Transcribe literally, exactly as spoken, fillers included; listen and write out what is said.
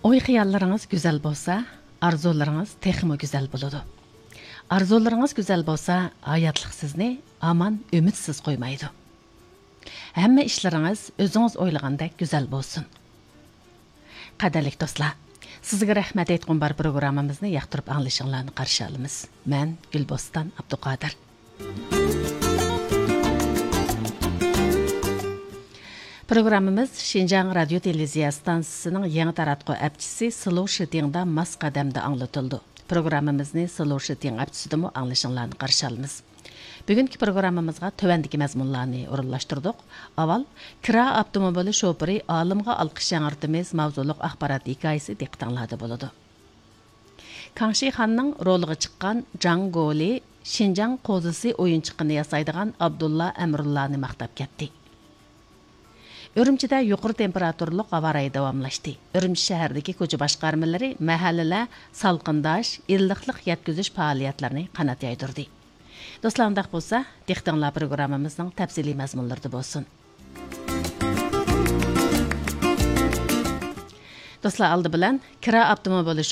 ئوي-خىياللىرىڭىز گۈزەل بولسا، ئارزۇلىرىڭىز تېخىمۇ گۈزەل بولىدۇ. ئارزۇلىرىڭىز گۈزەل بولسا، ھاياتلىق سىزنى ھامان ئۈمىدسىز قويمايدۇ. ھەممە ئىشلىرىڭىز ئۆزىڭىز ئويلىغاندەك گۈزەل بولسۇن. قەدىرلىك دوستلار، سىزگە رەھمەت ئېيتقۇم بار پروگراممىمىزنى ياقتۇرۇپ ئاڭلىشىڭلارنى قارشى ئالىمىز. مەن گۈلبوستان ئابدۇقادىر. پروگراممىمىز شىنجاڭ رادىيو تېلېۋىزىيە ئىستانسىسىنىڭ يېڭى تاراتقۇ ئەپچىسى سلو شىتىڭدا ماس قەدەمدە ئاڭلىتىلىدۇ. پروگراممىمىزنى سلو شىتىڭ ئەپچىسىدىمۇ ئاڭلىشىڭلارنى قارشى ئالىمىز. بۈگۈنكى پروگراممىمىزغا تۆۋەندىكى مەزمۇنلارنى ئورۇنلاشتۇردۇق. ئاۋۋال، كىرا ئاپتوموبىلى شوپۇرى ئالىمغا ئالقىش ياڭرىتىمىز ماۋزۇلۇق ئاخبارات ھېكايىسى دىققىتىڭلاردا بولىدۇ. كاڭشى خاننىڭ رولىغا چىققان جاڭ گولى شىنجاڭ قوزىسى ئويۇنچۇقىنى ياسايدىغان ئابدۇللا ئەمرۇللانى ماختاپ كەتتى. ئۈرۈمچىدە يۇقىرى تېمپېراتۇرىلىق ھاۋا رايى داۋاملاشتى. ئۈرۈمچى شەھىرىدىكى كوچا باشقارمىلىرى مەھەللىلەر سالقىنداش، ئىللىقلىق يەتكۈزۈش پائالىيەتلىرىنى قانات يايدۇردى. دوستلار، ئۇنداق بولسا، دىققىتىڭلار پروگراممىمىزنىڭ تەپسىلىي مەزمۇنلىرىدا بولسۇن. دوستلار، ئالدى بىلەن كىرا ئاپتوموبىلى